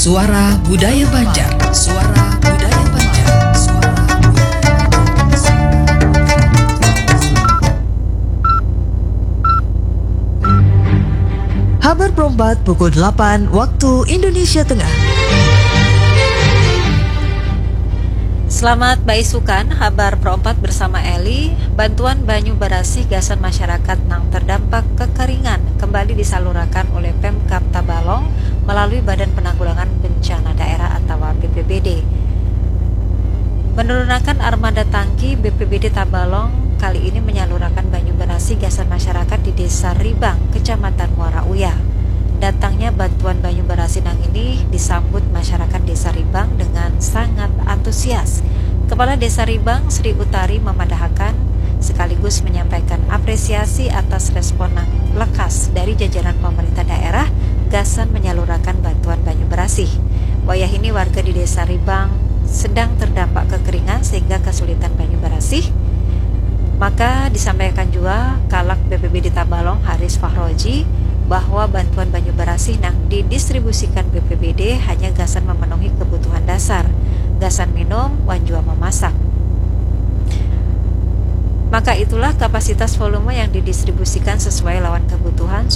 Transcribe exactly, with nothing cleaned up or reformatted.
Suara Budaya Banjar. Suara Budaya Banjar. Suara Budaya Banjar. Habar perompat pukul delapan waktu Indonesia Tengah. Selamat baisukan, habar perompat bersama Eli. Bantuan banyu barasih gasan masyarakat nang terdampak kekeringan kembali disalurakan oleh Pemkab Tabalong melalui Badan Penanggulangan Bencana Daerah atau B P B D. Menurunakan armada tangki, B P B D Tabalong kali ini menyalurakan banyu barasih gasan masyarakat di Desa Ribang, Kecamatan Muara Uya. Datangnya bantuan banyu barasih nang ini disambut masyarakat Desa Ribang dengan sangat antusias. Kepala Desa Ribang, Sri Utari, memadahakan sekaligus menyampaikan apresiasi atas respon nang lekas dari jajaran pemerintah daerah gasan menyalurakan bantuan banyu barasih. Wayah ini warga di Desa Ribang sedang terdampak kekeringan sehingga kesulitan banyu barasih. Maka disampaikan juga Kalak B P B D Tabalong, Haris Fahroji, bahwa bantuan banyu barasih nang didistribusikan B P B D hanya gasan memenuhi kebutuhan dasar, gasan minum, wan jua memasak. Maka itulah kapasitas volume yang didistribusikan sesuai lawan kebutuhan